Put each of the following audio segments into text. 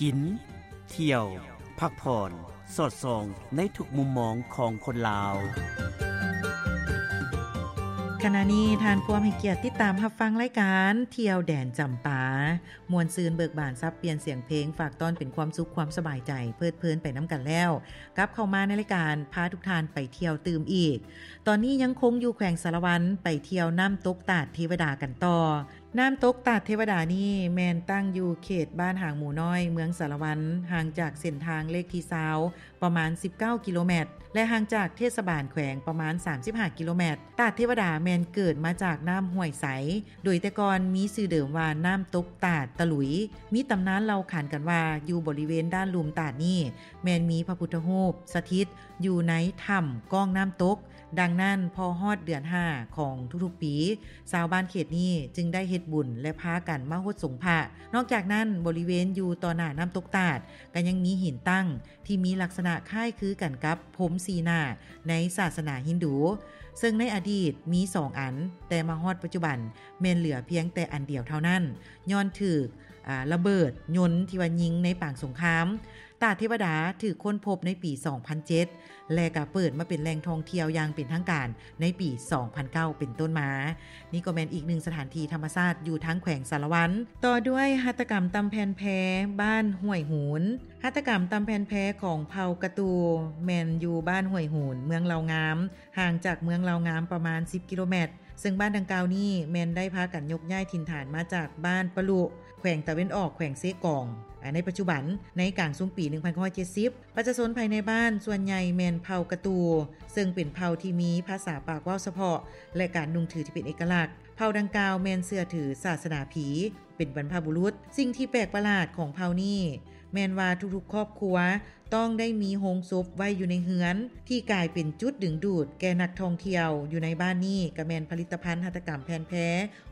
ກິນ, ທ່ຽວ, ພັກຜ່ອນ, ສອດສ່ອງໃນທຸກມຸມມອງຂອງຄົນລາວ. ຂະນະນີ້ທ່ານພວມໃຫ້ກຽດຕິດຕາມຮັບຟັງລາຍການທ່ຽວແດນຈຳປາ. ມ່ວນຊື່ນເບີກບານສັບປ່ຽນສຽງເພງ, ຝາກຕ້ອນເປັນຄວາມສຸກຄວາມສະບາຍໃຈ, ເພີດເພີນໄປນຳກັນແລ້ວ. ກັບເຂົ້າມາໃນລາຍການພາທຸກທ່ານໄປທ່ຽວຕື່ມອີກ. ຕອນນີ້ຍັງຄົງຢູ່ແຂວງສາລະວັນ, ໄປທ່ຽວນ້ຳຕົກຕາດເທວະດາກັນຕໍ່. ນ້ຳຕົກຕາດເທວະດານີ້ແມ່ນຕັ້ງຢູ່ເຂດບ້ານຫາງໝູນ້ອຍ, ເມືອງສາລະວັນ, ຫ່າງຈາກເສັ້ນທາງເລກທີຊາວ ປະມານສິບເກົ້າກິໂລແມັດ ແລະ ຫ່າງຈາກເທດສະບານແຂວງປະມານສາມສິບຫ້າກິໂລແມັດ. ຕາດເທວະດາແມ່ນເກີດມາຈາກນ້ຳຫ້ວຍໃສ, ໂດຍແຕ່ກ່ອນມີຊື່ເດີມວ່ານ້ຳຕົກຕາດຕະຫຼຸຍ. ມີຕຳນານເລົ່າຂານກັນວ່າ ຢູ່ບໍລິເວນດ້ານລຸ່ມຕາດນີ້ ແມ່ນມີພະພຸດທະຮູບສະຖິດຢູ່ໃນຖ້ຳກ້ອງນ້ຳຕົກ. ດັ່ງນັ້ນ, ພໍຮອດເດືອນຫ້າຂອງທຸກໆປີ, ຊາວບ້ານເຂດນີ້ຈຶ່ງໄດ້ເຮັດບຸນ ແລະ ພາກັນມາຫົດສົງພະ. ນອກຈາກນັ້ນ, ບໍລິເວນຢູ່ຕໍ່ໜ້ານ້ຳຕົກຕາດ ກໍຍັງມີຫີນຕັ້ງທີ່ມີລັກສະນະຄ້າຍຄືກັນກັບພົມສີ່ໜ້າໃນສາສະໜາຮິນດູ, ເຊິ່ງໃນອະດີດມີສອງອັນ, ແຕ່ມາຮອດປັດຈຸບັນແມ່ນເຫຼືອພຽງແຕ່ອັນດຽວເທົ່ານັ້ນ, ຍ້ອນຖືກ ອາ ລະເບີດຍົນທີ່ວ່າຍິງໃນປາງສົງຄາມ. ຕາດເທວະດາຖືກຄົ້ນພົບໃນປີສອງພັນເຈັດ ແລະ ກໍເປີດມາເປັນແຫຼ່ງທ່ອງທ່ຽວຢ່າງເປັນທາງການໃນປີສອງພັນເກົ້າເປັນຕົ້ນມາ. ນີ້ກໍແມ່ນອີກໜຶ່ງສະຖານທີ່ທຳມະຊາດຢູ່ທາງແຂວງສາລະວັນ. ຕໍ່ດ້ວຍຫັດຖະກຳຕ່ຳແຜ່ນແພ ບ້ານຫ້ວຍຫູນ. ຫັດຖະກຳຕ່ຳແຜ່ນແພຂອງເຜົ່າກະຕູ ແມ່ນຢູ່ບ້ານຫ້ວຍຫູນ ເມືອງເລົ່າງາມ, ຫ່າງຈາກເມືອງເລົ່າງາມປະມານສິບກິໂລແມັດ. ເຊິ່ງບ້ານດັ່ງກ່າວນີ້ແມ່ນໄດ້ພາກັນຍົກຍ້າຍຖິ່ນຖານມາຈາກບ້ານປະລຸ ແຂວງຕາເວັນອອກ ແຂວງເຊກອງ ອາ ໃນປັດຈຸບັນ. ໃນກາງຊຸມປີໜຶ່ງພັນເກົ້າຮ້ອຍເຈັດສິບ ປະຊາຊົນພາຍໃນບ້ານສ່ວນໃຫຍ່ແມ່ນເຜົ່າກະຕູ ເຊິ່ງເປັນເຜົ່າທີ່ມີພາສາປາກເວົ້າສະເພາະ ແລະ ການນຸ່ງຖືທີ່ເປັນເອກະລັກ. ເຜົ່າດັ່ງກ່າວແມ່ນເຊື່ອຖືສາສະໜາຜີ ເປັນບັນພະບຸລຸດ. ສິ່ງທີ່ແປກປະຫຼາດຂອງເຜົ່ານີ້ແມ່ນວ່າທຸກໆຄອບຄົວ ຕ້ອງໄດ້ມີໂຮງສົບໄວ້ຢູ່ໃນເຮືອນ ທີ່ກາຍເປັນຈຸດດຶງດູດແກ່ນັກທ່ອງທ່ຽວ. ຢູ່ໃນບ້ານນີ້ກໍແມ່ນຜະລິດຕະພັນຫັດຖະກຳແຜ່ນແພ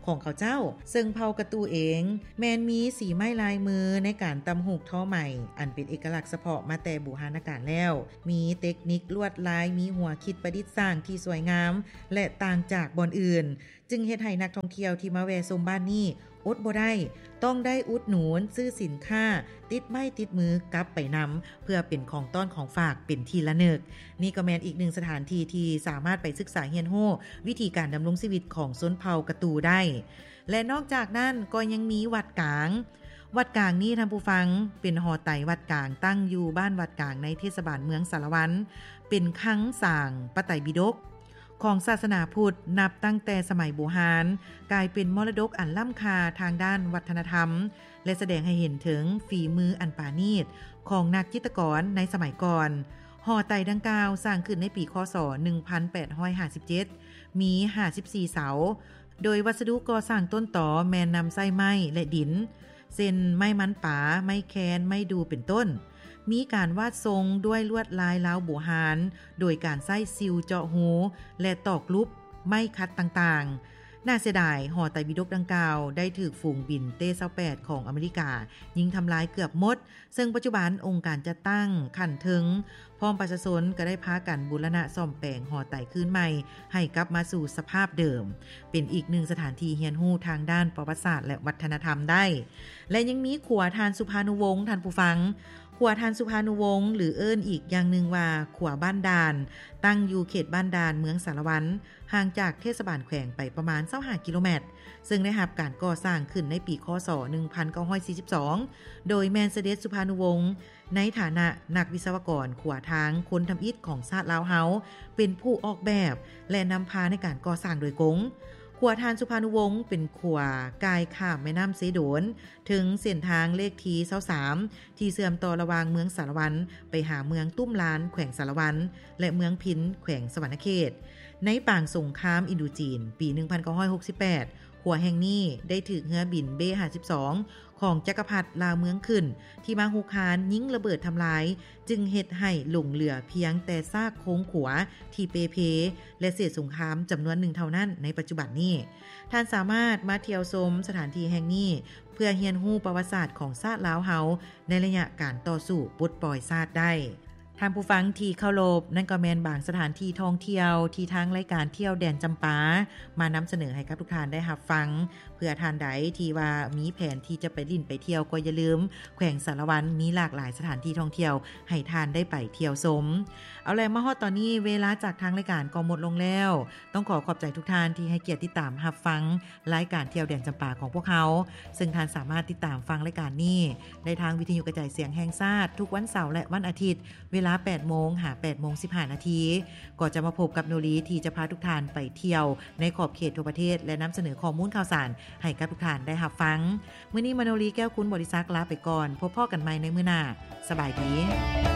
ຂອງເຂົາເຈົ້າ, ເຊິ່ງເຜົ່າກະຕູເອງແມ່ນມີສີໄມ້ລາຍມືໃນການຕ່ຳຫູກທໍໄໝ ອັນເປັນເອກະລັກສະເພາະມາແຕ່ບູຮານະການແລ້ວ, ມີເຕັກນິກລວດລາຍ, ມີຫົວຄິດປະດິດສ້າງທີ່ສວຍງາມ ແລະ ຕ່າງຈາກບ່ອນອື່ນ. ຈຶ່ງເຮັດໃຫ້ນັກທ່ອງທ່ຽວທີ່ມາແວ່ຊົມບ້ານນີ້ອົດບໍ່ໄດ້ ຕ້ອງໄດ້ອຸດໜູນຊື້ສິນຄ້າຕິດໄມ້ຕິດມືກັບໄປນຳ ເພື່ອເປັນຂອງຕ້ອນຂອງຝາກເປັນທີ່ລະນຶກ. ນີ້ກໍແມ່ນອີກໜຶ່ງສະຖານທີ່ທີ່ສາມາດໄປສຶກສາຮຽນຮູ້ວິທີການດຳລົງຊີວິດຂອງຊົນເຜົ່າກະຕູໄດ້. ແລະ ນອກຈາກນັ້ນກໍຍັງມີວັດກາງ. ວັດກາງນີ້ ທ່ານຜູ້ຟັງ, ເປັນຫໍໄຕວັດກາງ ຕັ້ງຢູ່ບ້ານວັດກາງ ໃນເທດສະບານເມືອງສາລະວັນ, ເປັນຄັງສາງພະໄຕປິດົກ ຂອງສາສະໜາພຸດ ນັບຕັ້ງແຕ່ສະໄໝບູຮານ, ກາຍເປັນມໍລະດົກອັນລ້ຳຄ່າທາງດ້ານວັດທະນະທຳ ແລະ ສະແດງໃຫ້ເຫັນເຖິງຝີມືອັນປານີດຂອງນັກຈິດຕະກອນໃນສະໄໝກ່ອນ. ຫໍໄຕດັ່ງກ່າວສ້າງຂຶ້ນໃນປີ ຄ.ສ. ໜຶ່ງພັນແປດຮ້ອຍຫ້າສິບເຈັດ ມີຫ້າສິບສີ່ເສົາ, ໂດຍວັດສະດຸກໍ່ສ້າງຕົ້ນຕໍແມ່ນນຳໃຊ້ໄມ້ ແລະ ດິນ ເຊັ່ນ ໄມ້ມັນປາ, ໄມ້ແຄນ, ໄມ້ດູ່ ເປັນຕົ້ນ. ມີການວາດຊົງດ້ວຍລວດລາຍລາວບູຮານ ໂດຍການໃຊ້ຊິວເຈາະຮູ ແລະ ຕອກຫຼຸບໄມ້ຂັດຕ່າງໆ. ໜ້າເສຍດາຍ, ຫໍໄຕບິດົກດັ່ງກ່າວໄດ້ຖືກຝູງບິນເຕຊາວແປດຂອງອາເມລິກາຍິງທຳລາຍເກືອບໝົດ, ເຊິ່ງປັດຈຸບັນອົງການຈັດຕັ້ງຂັ້ນເທິງ ພ້ອມປະຊາຊົນກໍໄດ້ພາກັນບູລະນະສ້ອມແປງຫໍໄຕຄືນໃໝ່ໃຫ້ກັບມາສູ່ສະພາບເດີມ, ເປັນອີກໜຶ່ງສະຖານທີ່ຮຽນຮູ້ທາງດ້ານປະຫວັດສາດ ແລະ ວັດທະນະທຳໄດ້. ແລະ ຍັງມີຂົວທ່ານສຸພານຸວົງ, ທ່ານຜູ້ຟັງ, ຂົວທ່ານສຸພານຸວົງ ຫຼື ເອີ້ນອີກຢ່າງໜຶ່ງວ່າຂົວບ້ານດ່ານ, ຕັ້ງຢູ່ເຂດບ້ານດ່ານ ເມືອງສາລະວັນ, ຫ່າງຈາກເທດສະບານແຂວງໄປປະມານຊາວຫ້າກິໂລແມັດ, ເຊິ່ງໄດ້ຮັບການກໍ່ສ້າງຂຶ້ນໃນປີ ຄ.ສ. ໜຶ່ງພັນເກົ້າຮ້ອຍສີ່ສິບສອງ ໂດຍແມ່ນສະເດັດສຸພານຸວົງ ໃນຖານະນັກວິສະວະກອນຂົວທາງຄົນທຳອິດຂອງຊາດລາວເຮົາ ເປັນຜູ້ອອກແບບ ແລະ ນຳພາໃນການກໍ່ສ້າງໂດຍກົງ. ຂົວທ່ານສຸພານຸວົງ ເປັນຂົວກ່າຍຂ້າມແມ່ນ້ຳເຊໂດນ ເຖິງເສັ້ນທາງເລກທີຊາວສາມ ທີ່ເຊື່ອມຕໍ່ລະຫວ່າງເມືອງສາລະວັນໄປຫາເມືອງຕຸ້ມລານ ແຂວງສາລະວັນ ແລະ ເມືອງພິນ ແຂວງສະຫວັນນະເຂດ. ໃນປາງສົງຄາມອິນໂດຈີນ ປີໜຶ່ງພັນເກົ້າຮ້ອຍຫົກສິບແປດ ຂົວແຫ່ງນີ້ໄດ້ຖືກເຮືອບິນເບຫ້າສິບສອງ ຂອງຈັກກະພັດລາວເມືອງຂຶ້ນ ທີ່ມາຮຸກຮານຍິງລະເບີດທຳລາຍ, ຈຶ່ງເຮັດໃຫ້ຫຼົງເຫຼືອພຽງແຕ່ຊາກໂຄງຂົວທີ່ເປ່ເພ ແລະ ເສດສົງຄາມຈຳນວນໜຶ່ງເທົ່ານັ້ນໃນປັດຈຸບັນນີ້. ທ່ານສາມາດມາທ່ຽວຊົມສະຖານທີ່ແຫ່ງນີ້ ເພື່ອຮຽນຮູ້ປະຫວັດສາດຂອງຊາດລາວເຮົາໃນໄລຍະການຕໍ່ສູ້ປົດປ່ອຍຊາດໄດ້. ທ່ານຜູ້ຟັງທີ່ເຄົາລົບ, ນັ້ນກໍແມ່ນບາງສະຖານທີ່ທ່ອງທ່ຽວທີ່ທາງລາຍການທ່ຽວແດນຈຳປາ ມານຳສະເໜີໃຫ້ກັບທຸກທ່ານໄດ້ຮັບຟັງ ເພື່ອທ່ານໃດທີ່ວ່າມີແຜນທີ່ຈະໄປຫຼິ້ນໄປທ່ຽວ ກໍຢ່າລືມ ແຂວງສາລະວັນມີຫຼາກຫຼາຍສະຖານທີ່ທ່ອງທ່ຽວໃຫ້ທ່ານໄດ້ໄປທ່ຽວຊົມ. ເອົາແຫຼະ ມາຮອດຕອນນີ້ ເວລາຈາກທາງລາຍການກໍໝົດລົງແລ້ວ. ຕ້ອງຂໍຂອບໃຈທຸກທ່ານທີ່ໃຫ້ກຽດຕິດຕາມຮັບຟັງລາຍການທ່ຽວແດນຈຳປາຂອງພວກເຮົາ, ເຊິ່ງທ່ານສາມາດຕິດຕາມຟັງລາຍການນີ້ໄດ້ທາງວິທະຍຸກະຈາຍສຽງແຫ່ງຊາດ ທຸກວັນເສົາ ແລະ ວັນອາທິດ ເວລາແປດໂມງຫາແປດໂມງສິບຫ້ານາທີ. ກໍຈະມາພົບກັບໂນລີທີ່ຈະພາທຸກທ່ານໄປທ່ຽວໃນຂອບເຂດທົ່ວປະເທດ ແລະ ນຳສະເໜີຂໍ້ມູນຂ່າວສານໃຫ້ກັບທຸກທ່ານໄດ້ຮັບຟັງ. ມື້ນີ້ມະໂນລີ ແກ້ວຄຸນ ບໍລິສັກ ລາໄປກ່ອນ. ພົບພໍ້ກັນໃໝ່ໃນມື້ໜ້າ. ສະບາຍດີ.